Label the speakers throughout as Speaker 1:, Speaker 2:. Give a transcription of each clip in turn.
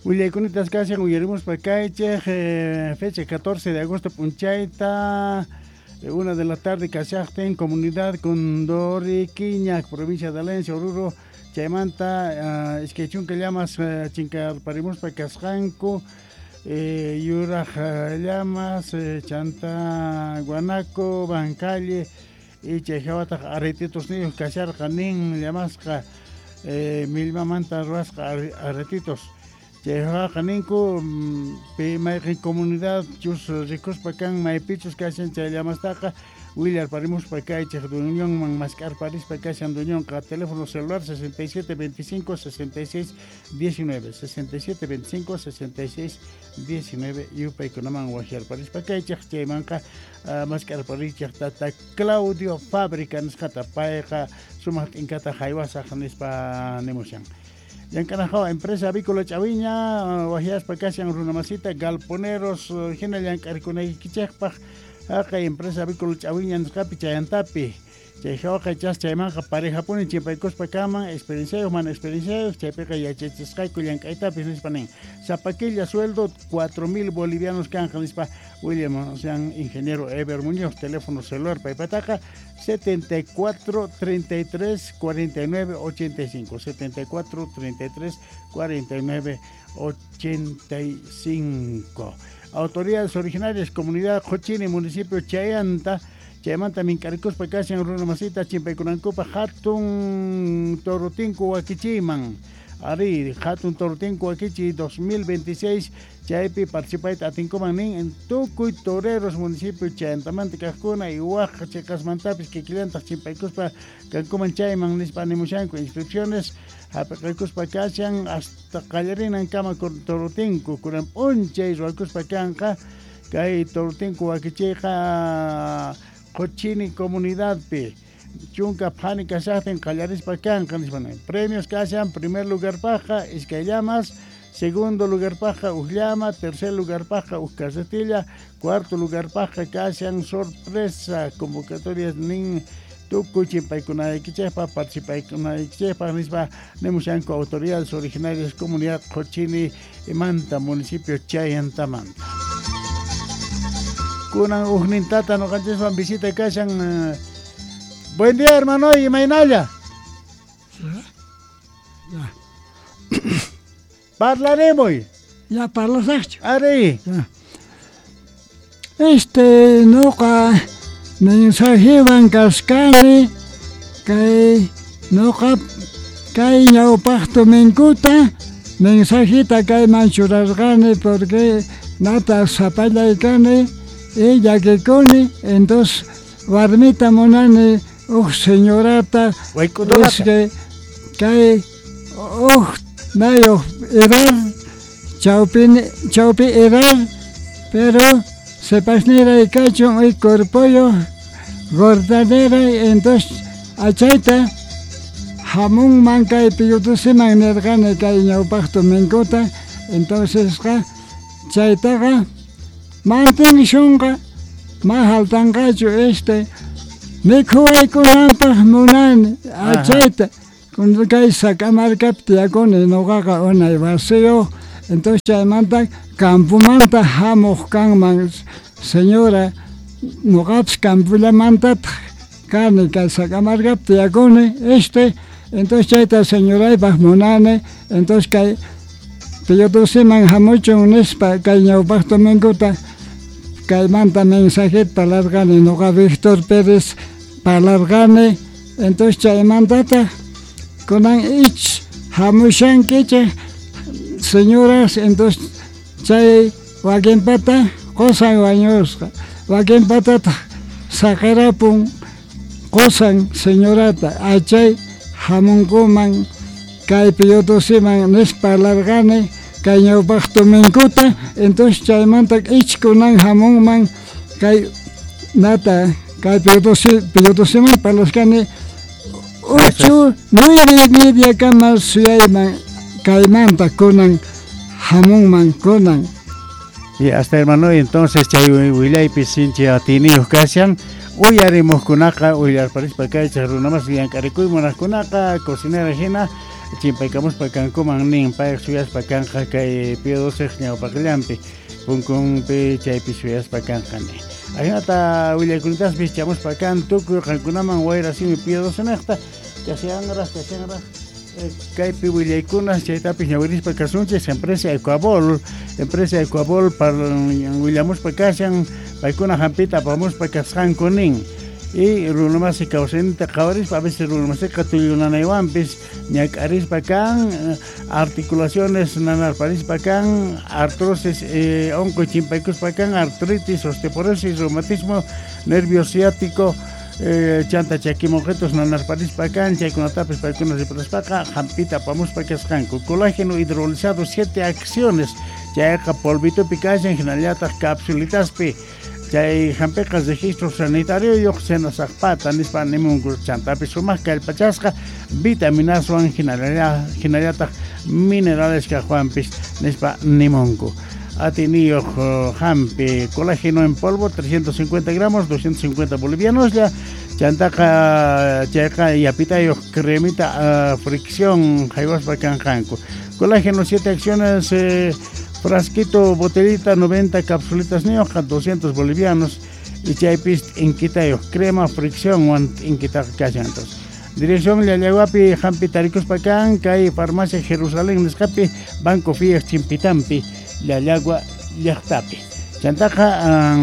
Speaker 1: Willaykunatas kashan uyarimuspa kaychej fecha 14 de agosto p'unchayta 1 de la tarde kashaqtin comunidad Condoriquiña, provincia de Valencia, Oruro, chaymanta 20 llamas chinkarparimuspa kasqanku yuraq llamas chanta guanaco, bancalle y chay hawataq aretitos niyuq kasharqa nin llamasqa millmamanta ruwasqa aretitos. Chay hawaqa ninku pi mayqin comunidad chus rikuspa kan maypichus kashan chay llamastaqa willarparimuspa kaychej dueñonman mask'arparispa kashan dueñonqa teléfono celular 67 25 66 19 67 25 66 19 yupaykunaman waqyarparispa kaychej chaymanqa mask'arparichej tata Claudio Fábrica nisqata payqa sumaq t'inkata haywasaq nispa nimushan. Llank'anajawa empresa avícola Ch'awiña waqyaspa kashan runamasita galponeros hina llank'arikunaykichejpaq haqay empresa avícola Ch'awiña nisqapi chayantapi chay hawaqa chas chaymanqa parejapuni chimpaykuspa kaman experienciayuq mana experienciayuq chaypiqa yachachisqayku llank'aytapis nispa nin sapa killa sueldo 4000 bolivianos kanja nispa William sean ingeniero Eber Muñoz teléfono celular paypataqa 74 33 49 85 74 33 49 85. Autoridades originarias comunidad Qochini municipio Chayanta chaymanta mink'arikuspa kashan runa masita chimpaykunankupa hatun torotinku wakichiyman ari hatun torotinku wakichiy 2026 chaypi participayta atinkuman nin en tukuy toreros municipio chayantamanta kaqkuna y waq chiqasmantapis kikillantaq chimpaykuspa kankuman chayman nispa animushanku inscripciones hap'iqaykuspa kashan hasta qallarinankama torotinku kunan p'unchay ruwakuspa kanqa kay torotinku wakichiyqa Qochini comunidadpi chunka phani kashaqtin qallarispa kanqa nispa nin premios kashan primer lugarpaqqa iskay llamas segundo lugarpaqqa uj llama tercer lugarpaqqa uj carretilla cuarto lugarpaqqa kashan sorpresa convocatorias nin tukuy chimpaykunaykichejpaq participaykunaykichejpaq nispa nimushanku autoridades originarias comunidad Qochini manta municipio Chayantamanta. Kunan ujnintata noqanchiswan visita kashan. Buen día, hermano, imaynalla.
Speaker 2: Ya.
Speaker 1: Parlaremos.
Speaker 2: Ya parlasaqchu.
Speaker 1: Ari.
Speaker 2: Ya. Noqa mensajewan kashkani kay noqa kay ñawpaq dominguta mensajita kayman churarqani porque nata sapallay kani y llakikuni entonces warmita munani uj señorata
Speaker 1: Wayk'udorata.
Speaker 2: Kay uj nayuq edad chawpi edad pero sepasniray kachun uy cuerpoyuq gordaneray entonces achayta hamunman kay piyutusiman nirqani kay ñawpaq dominguta entonces qa chaytaqa mantenshunqa ma haltanqachu mikhuwaykunanpaq munani achayta kay Sac'amarkapi tiyakuni noqaqa unay wasiyuq entonces chaymanta campomanta hamuq kanman señora noqapis campollamantataq kani kay Sac'amarkapi tiyakuni entonces chayta señoraypaq munani entonces kay piyutusiman hamuchun nispa kay ñawpaq dominguta kaymanta mensajeta parlarqani noqa Víctor Pérez parlarqani entonces chaymantataq kunan ich hamushankichik señoras entonces chay wakinpata qusan wañusqa wakinpatataq saqirapun qusan señorata achay hamunkuman kay piyutusiman nispa parlarqani kay ñawpaq dominguta entonces chaymanta ich kunan hamunman kay nata kay piyutusiman parlasqani 8 9:30 kama suyayman kaymanta kunan hamunman kunan.
Speaker 1: Y hasta hermano, entonces chay willaypi sinchi atiniyuq kashan uyarimuqkunaqa uyarparispa kaychaq runamas llank'arikuy munaqkunaqa cocinera hina Chimpaykamuspa kankuman nin payq suyaspa kanqa kay Pío XII ñawpaqllampi punkunpi chaypi suyaspa kanqa nin. Ajinata willaykunitaspis chamuspa kan tukuy qankunaman wayra simi Pío XII niqta kashanraq kaypi willaykunas chaytapis ñawirispa kasunchis empresa Ecuabol willamuspa kashan paykuna hampita apamuspa kasqanku nin. Y runamasi kawsayninta qhawarispa a veces runamasiqa tullunanaywanpis ñak'arispa kan articulaciones nanarparispa kan artrosis onqoy chimpaykuspa kan artritis, osteoporosis, reumatismo, nervio ciático, chanta chakimonqitos nanarparispa kan chaykunatapis paykuna riparaspaqa hampita apamuspa kasqanku. Colágeno hidrolizado 7 acciones chayqa polvitupi kashan hinallataq capsulitaspi chay hampiqa registro sanitario yuq senasaqpata nispa nimunku chantapis sumaq kallpachasqa vitaminaswan hinallataq minerales kaqwanpis nispa nimunku. Atiniyuq hampi colágeno en polvo 350 gramos 250 bolivianos ya chantaqa chayqa yapitayuq cremita fricción haywaspa kanqanku. Colágeno 7 acciones frasquito botellita 90 capsulitas niyuqqa 200 bolivianos y chaypis inkitayuq crema fricción wan inkitaqa kashan. Entonces dirección Llallaguapi hampi tarikuspa kan kay farmacia Jerusalén nisqapi Banco Fiat Chimpitampi Llallagua llaqtapi. Chantaqa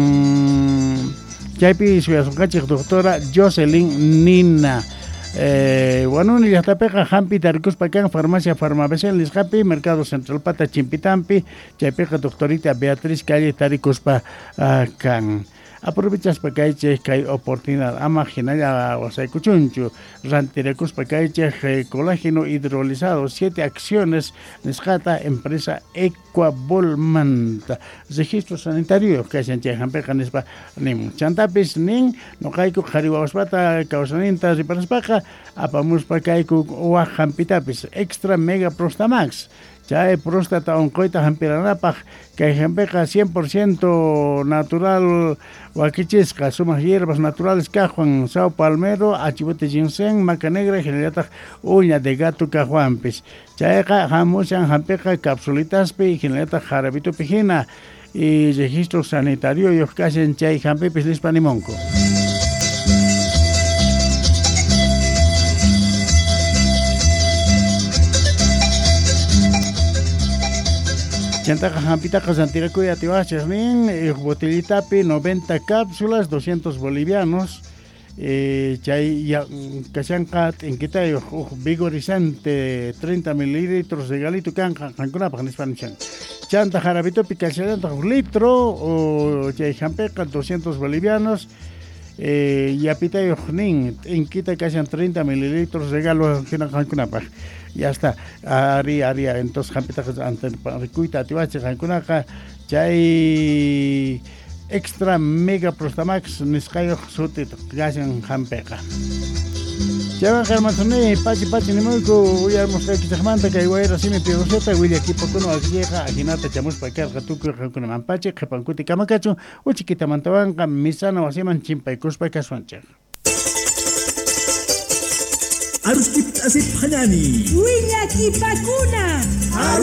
Speaker 1: chaypi suyasunqachik doctora Jocelyn Nina. Huanuni llaqtapiqa hampi tarikuspa kan farmacia Farmabecel nisqapi Mercado Central Pata Chimpitampi chaypiqa doctorita Beatriz Calle tarikuspa kan. Aprovechaspa kaychik kay oportunidad ama hinalla wasaykuchunchu rantirakuspa kaychik colágeno hidrolizado 7 acciones nisqata empresa Ecuabolmanta registro sanitario kashan chay hampiqa nispa nimun. Chantapis nin noqayku qhari wawaspata kawsayninta riparaspaqa apamuspa kayku waq hampitapis extra mega prostamax chay próstata onqoyta hampiranapaq kay hampiqa 100% natural wakichisqa sumaq hierbas naturales kaqwan sao palmero, achibote ginseng, maca negra hinallataq uña de gato kaqwanpis chayqa hamushan hampiqa capsulitaspi hinallataq jarabitupi hina y registro sanitario yuq kashan chay hampipis nispa nimunku. Chantaqa hampitaqa rantirakuy atiwachis nin botellitapi 90 cápsulas 200 bolivianos chay kashanqa t'inkitayuq uj vigorizante 30 mililitros regalito kanqa qankunapaq nispa nishan. Chanta jarabitupi kashallantaq uj litro chay hampiqa 200 bolivianos yapitayuq nin t'inkita kashan 30 mililitros regalo hina qankunapaq. Ya está, ari entonces hampitaqa rikuyta atiwachik qankunaqa chay extra mega prostamax nisqayuq suti kashan hampiqa. Chaywan hermanuni pachi pachi nimuyku uyarmusqaykichikmanta kay wayra simi Pío XII willakipakuna wakillayqa ajinata chamuspa karqa tukuy qankunaman pachi qhipankuti kamakachun uchikitamantawanqa misana wasiman chimpaykuspa kasuanchik.
Speaker 3: Arustip asip hanani.
Speaker 4: Willakipakuna.